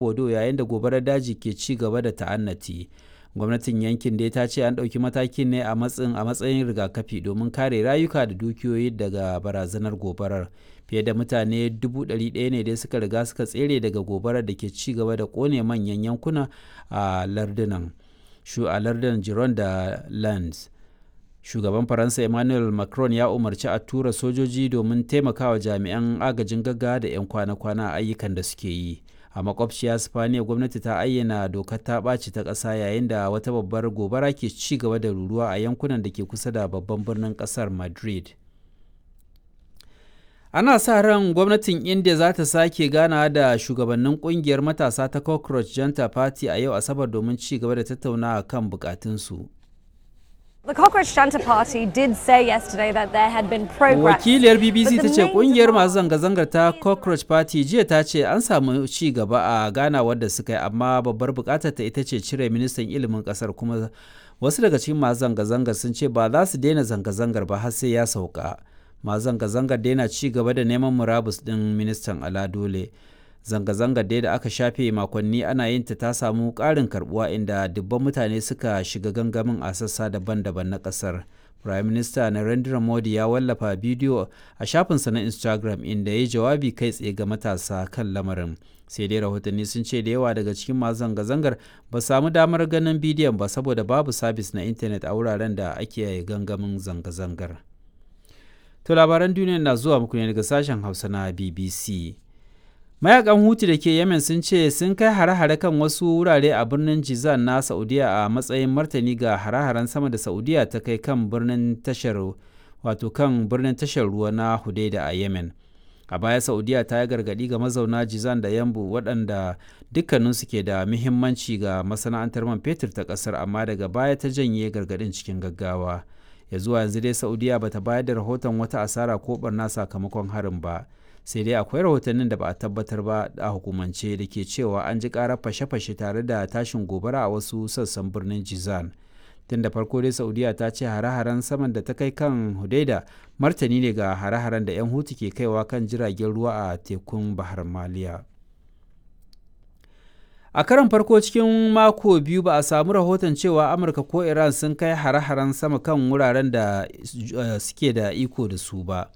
Bordeaux yayin da gobarar daji ke ci gaba da ta'annati. Gwamnatin yankin dai ta ce an ɗauki matakin ne a matsayin rigakafi domin kare rayuka da dukiyoyi daga barazanar gobarar. Fiye da mutane 100,000 ne dai suka riga suka tsere daga gobarar da ke ci gaba da kone manyan yankuna a lardunan Gironde da Landes. Shugaban Faransa Emmanuel Macron ya umarci a tura sojoji domin taimakawa jami'an agajin gaggawa da 'yan kwana-kwana a ayyukan da suke yi. A makwabciya Sipaniya, gwamnati ta ayyana dokar ta ɓaci ta ƙasa yayin da wata babbar gobara ke ci gaba da ruruwa a yankunan da ke kusa da babban birnin ƙasar Madrid. Ana sa ran gwamnatin India za ta sake ganawa da shugabannin kungiyar matasa ta Cockroach Janta Party a yau Asabar domin ci gaba da tattaunawa kan bukatunsu. The Cockroach Janta Party did say yesterday that there had been progress. Wakiliyar BBC ta ce kungiyar masu zanga-zangar ta Cockroach Party jiya ta ce an samu ci gaba a ganawar da suka yi, amma babbar bukatar ta ita ce cire ministan ilimin kasar, kuma wasu daga cikin masu zanga-zangar sun ce ba za su daina zanga-zangar ba har sai ya sauka. Masu zanga-zangar daina ci gaba da neman murabus din ministan ala dole. Zanga-zangar dai da aka shafe makonni ana yin ta ta samu ƙarin karbuwa, inda dubban mutane suka shiga gangamin a sassa daban-daban na ƙasar. Prime Minister Narendra Modi ya wallafa bidiyo a shafinsa na Instagram inda ya yi jawabi kai tsaye ga matasa kan lamarin. Sai dai rahotanni sun ce da yawa daga cikin masu zanga-zangar ba samu damar ganin bidiyon ba saboda babu sabis na intanet a wuraren da ake gangamin zanga-zangar. To labaran duniya na zuwa muku ne daga sashen Hausa na BBC. Mayakan Hutu da ke Yemen sun ce sun kai hare-hare kan wasu wurare a birnin Jizan na Saudiya a matsayin martani ga hare-haren sama da Saudiya ta kai kan birnin tashar wato kan birnin tashar ruwa na Hudaida a Yemen. A baya Saudiya ta yi gargaɗi ga mazauna Jizan da Yambu, waɗanda dukkaninsu ke da muhimmanci ga masana'antar man fetur ta ƙasar, amma daga baya ta janye gargaɗin cikin gaggawa. Ya zuwa yanzu dai Saudiya bata bayar da rahoton wata asara ko barna sakamakon harin ba. Sai dai akwai rahotannin da ba a tabbatar ba a hukumance da ke cewa an ji karar fashe-fashe tare da tashin gobara a wasu sassan birnin Jizan. Tun da farko dai Saudiya ta ce hare-haren saman da ta kai kan Hudaida martani ne ga hare-haren da 'yan Hutu ke kaiwa kan jiragen ruwa a tekun Bahar Maliya. A karon farko cikin mako 2 ba a samu rahoton cewa Amurka ko Iran sun kai hare-haren sama kan wuraren da suke da iko da su ba.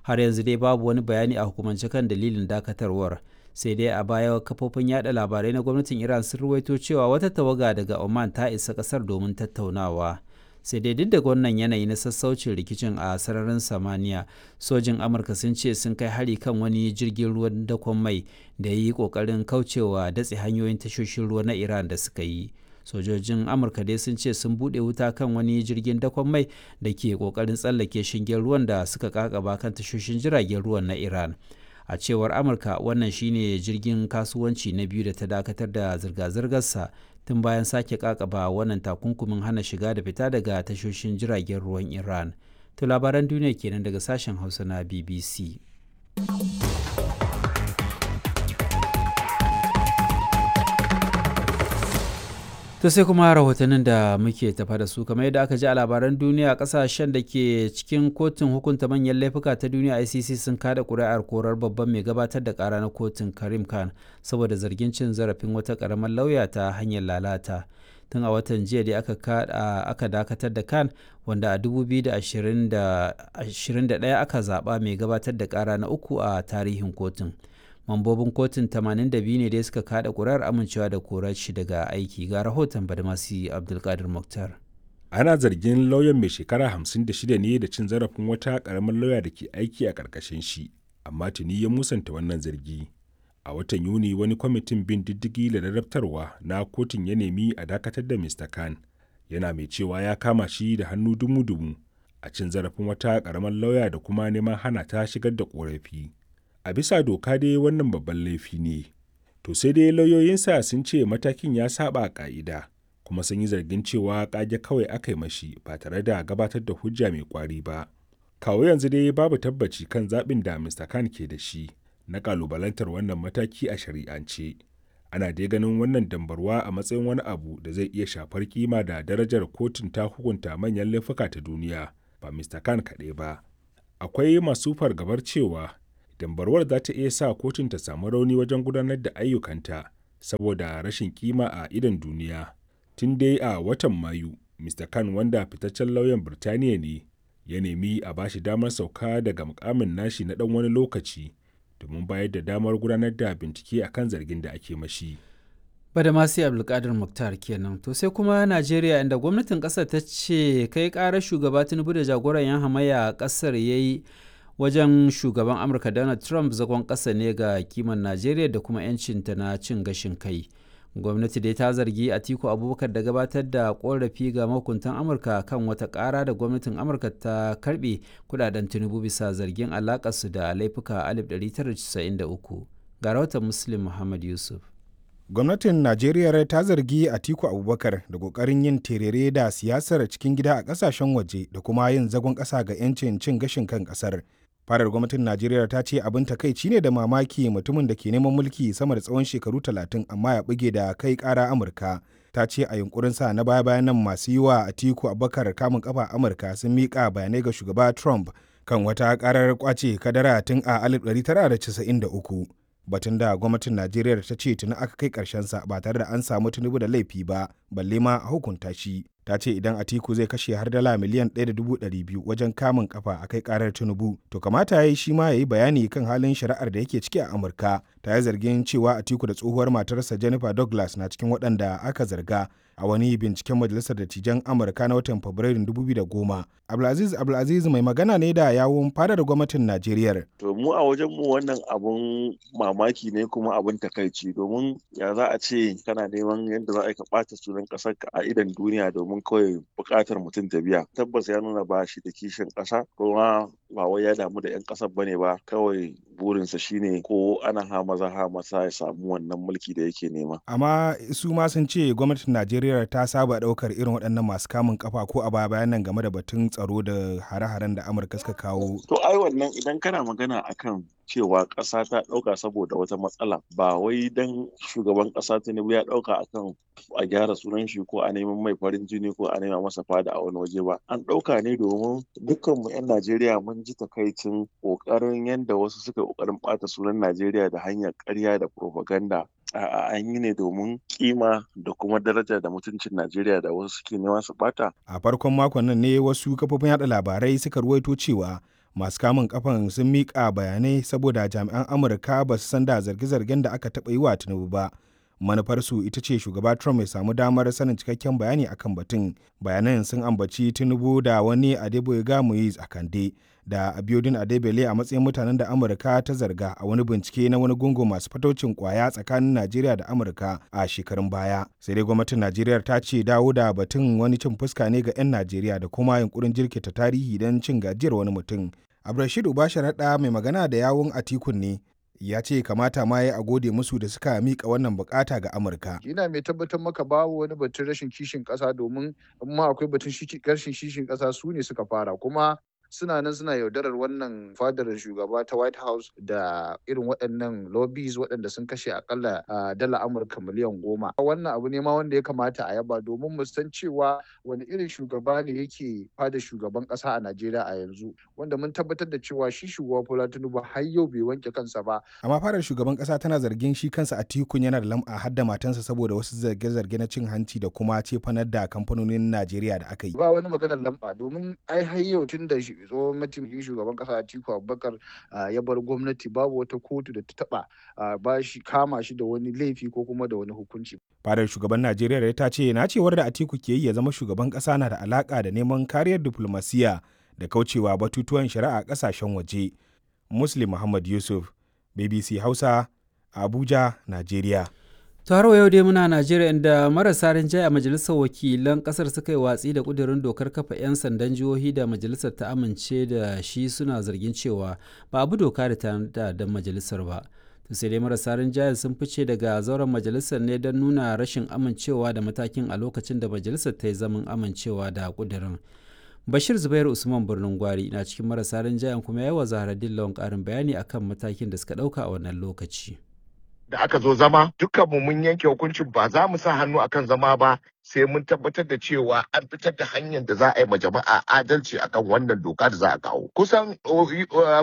Har yanzu dai babu wani bayani a hukumance kan dalilin dakatarwar. Sai dai a baya kafofin yada labarai na gwamnatin Iran sun ruwaito cewa wata tawaga daga Oman ta isa kasar domin tattaunawa. Sai dai duk da wannan yanayi na sassaucin rikicin a sararin samaniya, sojin Amurka sun ce sun kai hari kan wani jirgin ruwan dakon mai da ya yi kokarin kaucewa datse hanyoyin tashoshin ruwa na Iran da suka yi. Sojojin Amurka dai sun ce sun bude wuta kan wani jirgin dakon mai da ke kokarin tsallake shingen ruwan da suka kakaba kan tashoshin jiragen ruwan na Iran. A cewar Amurka, wannan shine jirgin kasuwanci na biyu da ta dakatar da zirga-zirgarsa tun bayan sake kakaba wannan takunkumin hana shiga da fita daga tashoshin jiragen ruwan Iran. To labaran duniya kenan daga sashen Hausa na BBC. To sai kuma rahotannin da muke tafa da su. Kamar yadda aka ji a labaran duniya, kasashen da ke cikin kotun hukunta manyan laifuka ta duniya ICC sun kada kuri'ar korar babban mai gabatar da kara na kotun Karim Khan saboda zargin cin zarafin wata karamar lauya ta hanyar lalata. Tun a watan jiya da aka dakatar da Khan, wanda a 2021 aka zaba mai gabatar da kara na uku a tarihin kotun. Mambobin kotun 82 ne dai suka kada kurar amincewa da korar shi daga aiki. Ga rahoton Badmasi Abdulkadir Muktar. Ana zargin lauyan mai shekara 56 ne da cin zarafin wata karamar lauya da ke aiki a karkashin shi, amma tuni ya musanta wannan zargi. A watan Yuni wani kwamitin bin diddigi da ladabtarwa na kotun ya nemi a dakatar da Mr. Khan, yana mai cewa ya kama shi da hannu dumu-dumu a cin zarafin wata karamar lauya da kuma neman hana ta shigar da korafi. A bisa doka dai wannan babban laifi ne. To sai dai lauyoyinsa sun ce matakin ya saba ka'ida, kuma sun yi zargin cewa kage kawai aka yi mashi ba tare da gabatar da hujja mai kwari ba. Kawo yanzu dai babu tabbaci kan zaɓin da Mr. Khan ke da shi na kalubalantar wannan mataki a shari'ance. Ana dai ganin wannan dambarwa a matsayin wani abu da zai iya shafar kima da darajar kotun ta hukunta manyan laifuka ta duniya, ba Mr. Khan kaɗai ba. Akwai masu fargabar cewa dambarwar za ta iya sa kotun ta samu rauni wajen gudanar da ayyukanta. Saboda rashin kima a idon duniya. Tun dai a watan Mayu, Mr. Khan wanda fitaccen lauyan Birtaniya ne, ya nemi a bashi damar sauka daga mukamin nashi na ɗan wani lokaci domin bayar da damar gudanar da bincike akan zargin da ake mashi. Badamasi Abdulkadir Mukhtar kenan. To sai kuma Najeriya, inda gwamnatin kasar ta ce kai karar shugaba Tinubu da jagoran yan hamayya a kasar ya yi wajen shugaban Amurka Donald Trump zagon kasa ne ga kiman Najeriya da kuma 'yancinta na cin gashin kai. Gwamnati dai ta zargi Atiku Abubakar da gabatar da korafi ga mahukuntan Amurka kan wata kara da gwamnatin Amurka ta karbe kudaden Tinubu bisa zargin alakarsu da laifuka 1993. Ga rahoton Muslim Muhammad Yusuf. Gwamnatin Najeriya ta zargi Atiku Abubakar da kokarin yin terere da siyasar cikin gida a kasashen waje da kuma yin zagon kasa ga 'yancin cin gashin kan kasar. Farar gwamnatin Najeriya ta ce abin takaici ne da mamaki mutumin da ke neman mulki sama da tsawon shekaru 30 amma ya buge da kai kara Amurka. Ta ce a yunkurinsa na baya bayan nan, masu yi wa Atiku Abubakar kamun kafa Amurka sun miƙa bayanai ga shugaba Trump kan wata karar kwace kadara tun a 1993, batun da gwamnatin Najeriya ta ce tuni aka kai sa ba tare da an samu Tinubu da laifi ba, balle ma a hukunta shi. Ta ce idan Atiku zai kashe har dala miliyan 1.200 wajen kamun kafa a kai karar Tinubu, to kamata ya yi shi ma ya yi bayani kan halin shari'ar da yake ciki a Amurka. Ta yi zargin cewa Atiku da tsohuwar matarsa Jennifer Douglas na cikin waɗanda aka zarga a wani binciken Majalisar Dattijan Amurka na watan Fabrairun 2010. Abdulaziz Abdulaziz mai magana ne da yawun fadar gwamnatin Najeriya. To, mu a wajen mu wannan abun mamaki ne kuma abun takaici, domin ya za a ce kana neman yadda za a ka ɓata sunan ƙasar ka a idon duniya domin kawai buƙatar mutum ta biya. Tabbas ya nuna ba shi da kishin ƙasa, kuma ba wai ya damu da 'yan ƙasar bane ba, kawai burinsa shine ko ana ha maza ha masa ya samu wannan mulki da yake nema. Amma su ma sun ce gwamnatin Najeriya ta saba ɗaukar irin waɗannan masu kamun kafa ko a baya bayan nan game da batun tsaro da hare-haren da Amurka suka kawo. To, ai wannan idan kana magana akan cewa ƙasa ta ɗauka saboda wata matsala, ba wai dan shugaban ƙasa Tinubu ya ɗauka akan a gyara sunan shi ko a neman mai farin jini ko a nema masa fada a wani waje ba. An ɗauka ne domin dukkanmu 'yan Najeriya mun ji takaicin ƙoƙarin yadda wasu suka ƙoƙarin ɓata sunan Najeriya da hanyar ƙarya da propaganda. A'a, an yi ne domin kima da kuma daraja da mutuncin Najeriya da wasu suke nema su bata. A farkon makon nan ne wasu kafofin yada labarai suka ruwaito cewa masu kamun kafan sun miƙa bayanai saboda jami'an Amurka ba su san da zarge-zargen da aka taɓa yi wa Tinubu ba. Manufarsu ita ce shugaba Trump ya samu damar sanin cikakken bayani akan batun. Bayanan sun ambaci Tinubu da wani Adeboyega Muiz Akande da Abiodun Adebele a matsayin mutanen da Amurka ta zarga a wani bincike na wani gungun masu fatocin kwaya tsakanin Najeriya da Amurka a shekarun baya. Sai dai gwamnatin Najeriya ta ce dawo da batun wani cin fuska ne ga 'yan Najeriya da kuma yunkurin jirkita tarihi don cin gajiyar wani mutum. Abdulrashid Ubasharaɗa mai magana da yawun Atikun ne, ya ce kamata ma ya a gode musu da suka mika wannan bukata ga Amurka. Ina mai tabbatar maka babu wani batun rashin kishin ƙasa, domin in ma akwai batun rashin kishin ƙasa, su ne suka fara, kuma suna nan suna yaudarar wannan fadar shugaba ta White House da irin waɗannan lobbies waɗanda sun kashe akalla dala Amurka miliyan 10. Wannan abu ne ma wanda ya kamata a yaba, domin mu san cewa wani irin shugaba ne yake fadar shugaban ƙasa a Najeriya a yanzu, wanda mun tabbatar da cewa shi shugaba Bola Tinubu har yau bai wanke kansa ba. Amma fadar shugaban ƙasa tana zargin shi kansa Atikun yana da lam'a har da matansa saboda wasu zarge-zarge na cin hanci da kuma cefanar da kamfanonin Najeriya da aka yi. Ba wani maganar lam'a, domin ai har yau tun da tsohon mataimakin shugaban kasa Atiku Abubakar ya bar gwamnati, babu wata kotu da ta taba ba shi kama shi da wani laifi ko kuma da wani hukunci. Fadar shugaban Najeriya ta ce nacewar da Atiku ke yi ya zama shugaban kasa na da alaka da neman kariyar diplomasiya da kaucewa batutuwan shari'a kasashen waje. Muslim Muhammad Yusuf, BBC Hausa, Abuja, Najeriya. To, har yau dai muna Najeriya, inda marasa rinjaye a majalisar wakilan kasar suka yi watsi da kudirin dokar kafa 'yan sandan jihohi da majalisar ta amince da shi, suna zargin cewa ba abu doka da ta da majalisar ba. To, sai dai marasa rinjaye sun fice daga zauren majalisar ne don nuna rashin amincewa da matakin a lokacin da majalisar ta yi zaman amincewa da kudirin. Bashir Zubair Usman Birnin Gwari na cikin marasa rinjayen, kuma yawa Zaharaddin Lawan karin bayani akan matakin da suka ɗauka a wannan lokaci. Da aka zo zama, dukkanmu mun yanke hukuncin ba za mu sa hannu akan zama ba sai mun tabbatar da cewa an fitar da hanyar da za a yi ma jama'a adalci akan wannan doka da za a kawo. Kusan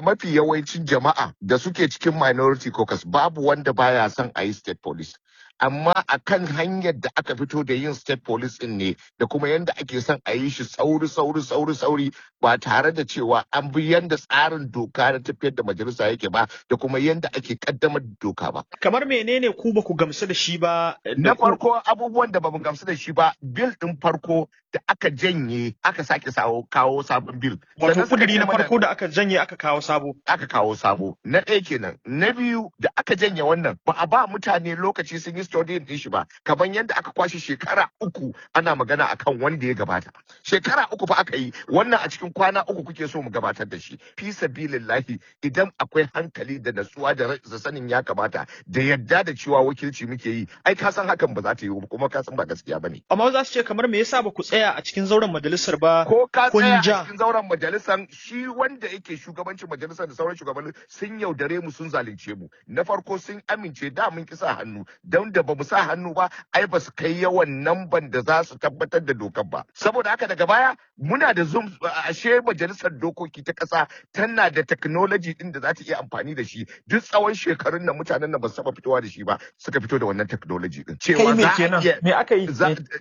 mafi yawancin jama'a da suke cikin minority caucus, babu wanda baya son a yi state police. Amma akan hanyar da aka fito da yin state police din ne da kuma yanda ake son a yi shi sauri sauri sauri sauri ba tare da cewa an bi yanda tsarin doka na tafiyar da majalisa yake ba da kuma yanda ake kaddamar da doka ba. Kamar menene ku ba ku gamsu da shi ba? Na farko, abubuwan da bamu gamsu da shi ba, bil din farko da aka janye aka sake kawo sabon bil. Wato kuduri na farko da aka janye aka kawo sabo. Aka kawo sabo. Na ɗaya kenan. Na biyu, da aka janye wannan ba a ba mutane lokaci sun yi studying din shi ba, kamar yadda aka kwashe shekara 3 ana magana akan wanda ya gabata. Shekara 3 fa aka yi wannan, a cikin kwana 3 kuke so mu gabatar da shi. Fi sabilillahi, idan akwai hankali da natsuwa da sanin ya kamata da yadda da cewa wakilci muke yi, ai ka san hakan ba za ta yi ba, kuma ka san ba gaskiya bane. Amma za su ce kamar me yasa ba ku tsaya a cikin zauren majalisar ba? Ko ka tsaya a cikin zauren majalisar, shi wanda yake shugabancin majalisar da sauran shugabannin sun yaudare mu, sun zalunce mu. Na farko, sun amince da mun ki sa hannu, don da bamu sa hannu ba ai ba su kai yawan namban da za su tabbatar da dokar ba. Saboda haka daga baya muna da Zoom, ashe majalisar dokoki ta ƙasa tana da technology din da za ta iya amfani da shi. Duk tsawon shekarun nan mutanen nan ba su taba fitowa da shi ba, suka fito da wannan technology din cewa za a iya me aka yi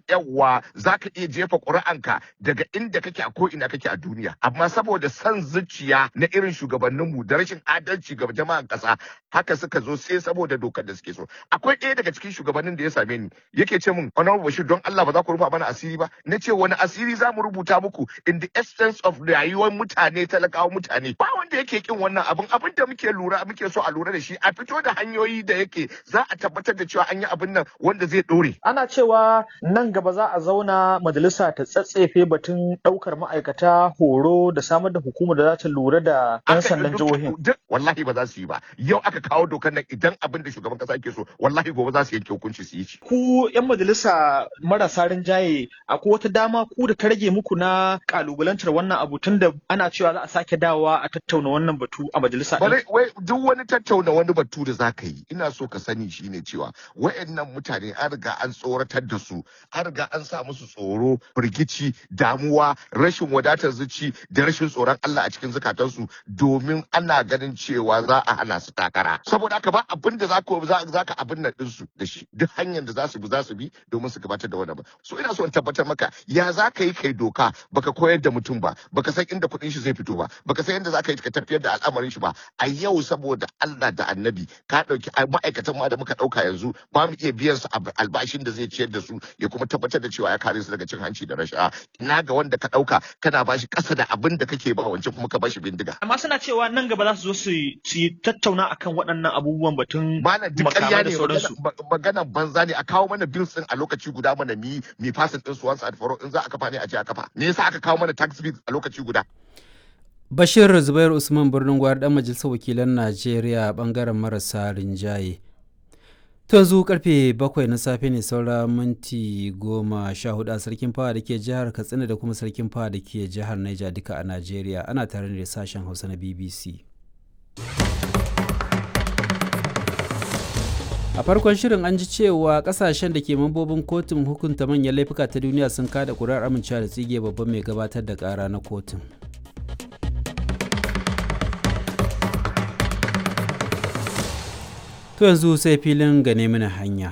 yawa za ka iya jefa ƙuri'anka daga inda kake a ko ina kake a duniya. Amma saboda son zuciya na irin shugabanninmu da rashin adalci ga jama'an ƙasa, haka suka zo sai saboda dokar da suke so. Akwai ɗaya daga cikin shugabannin da ya same ni yake ce min, "Honorable Bashir, don Allah ba za ku rufa mana asiri ba?" Na ce, "Wani asiri za mu rubuta muku in the essence of rayuwar mutane, talakawa mutane?" Ba wanda yake kin wannan abin. Abin da muke lura, muke so a lura da shi, a fito da hanyoyi da yake za a tabbatar da cewa an yi abin nan wanda zai dore. Ana cewa nan gaba za a zauna majalisa ta tsatsefe batun ɗaukar ma'aikata, horo, da samar da hukumar da za ta lura da 'yan sandan jihohin. Wallahi ba za su yi ba. Yau aka kawo dokar nan, idan abin da shugaban kasa yake so, wallahi gobe za su yanke hukunci su yi shi. Ku 'yan majalisa marasa rinjaye, akwai wata dama ku da ta rage muku na kalubalantar wannan abu, tun da ana cewa za a sake dawowa a tattauna wannan batu a majalisa? Wai duk wani tattauna wani batu da za ka yi, ina so ka sani shine cewa wayannan mutane an riga an tsoratar da su, an riga an sa musu tsoro, firgici, damuwa, rashin wadatar zuci da rashin tsoron Allah a cikin zukatansu, domin ana ganin cewa za a hana su takara. Saboda haka ba abin da za ka abin nan ɗinsu da shi, duk hanyar da za su bi za su bi domin su gabatar da wannan. So ina so in tabbatar maka, ya za ka yi kai doka baka koyar da mutum ba, baka san inda kuɗin shi zai fito ba, baka san yadda za ka yi ka tafiyar da al'amarin shi ba? A yau, saboda Allah da Annabi, ka ɗauki ma'aikatan ma da muka ɗauka yanzu, ba mu iya biyan su albashin da zai ciyar da su ya kuma tabbatar da cewa ya kare su daga cin hanci da rashawa. Ina ga wanda ka ɗauka kana bashi ƙasa da abin da kake ba wancan, kuma ka bashi bindiga? Amma suna cewa nan gaba za su zo su yi tattauna akan waɗannan abubuwan, batun Malam, duk ƙarya ne, maganan banza ne. A kawo mana bills din a lokaci guda mana mi mi fasin din su once and for all. In za a kafa ne, a je a kafa. Me yasa aka kawo mana tax bill a lokaci guda? Bashir Zubair Usman Birnin Gwari, dan majalisar wakilan Najeriya bangaren marasa rinjaye. To yanzu karfe 7 na safe ne saura minti 14 a Sarkin Fawa da ke jihar Katsina da kuma Sarkin Fawa da ke jihar Niger, duka a Najeriya. Ana tare da sashen Hausa na BBC. A farkon shirin an ji cewa kasashen da ke mambobin kotun hukunta manyan laifuka ta duniya sun kada kuri'ar amincewa da tsige babban mai gabatar da kara na kotun. To yanzu sai filin gane mana hanya.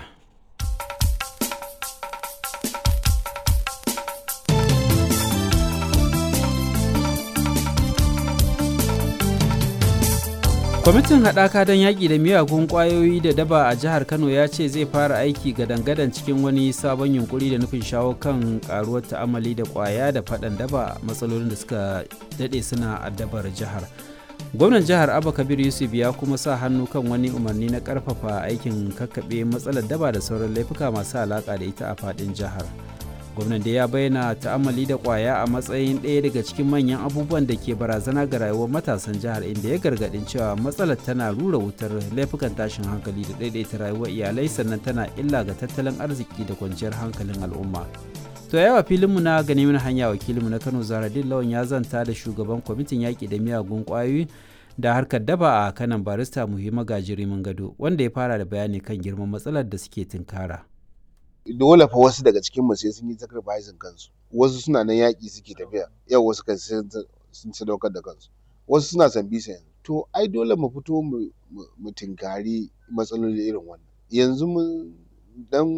Kwamitin haɗaka don yaƙi da miyagun ƙwayoyi da daba a jihar Kano ya ce zai fara aiki gadan-gadan cikin wani sabon yunkuri da nufin shawo kan ƙaruwar ta'amali da ƙwaya da faɗan daba, matsalolin da suka daɗe suna addabar jihar. Gwamnan jihar Abba Kabir Yusuf ya kuma sa hannu kan wani umarni na ƙarfafa aikin kakkaɓe matsalar daba da sauran laifuka masu alaƙa da ita a faɗin jihar. Gwamnan da ya bayyana ta'ammali da kwaya a matsayin ɗaya daga cikin manyan abubuwan da ke barazana ga rayuwar matasan jihar, inda ya gargaɗin cewa matsalar tana rura wutar laifukan tashin hankali da ɗaiɗaita rayuwar iyalai, sannan tana illa ga tattalin arziki da kwanciyar hankalin al'umma. To yawa filinmu na gani mana hanya, wakilinmu na Kano Zaradin Lawan ya zanta da shugaban kwamitin yaƙi da miyagun ƙwayoyi da harkar daba a kanan, Barista Muhimma Gajiri Gado, wanda ya fara da bayani kan girman matsalar da suke tunkara. Dole fa wasu daga cikin mu sai sun yi sacrificing kansu. Wasu suna nan yaƙi suke tafiya yau, wasu kan sun sadaukar da kansu, wasu suna sambisa yanzu. To ai dole mu fito mu tinkari matsaloli irin wannan. Yanzu mun Dan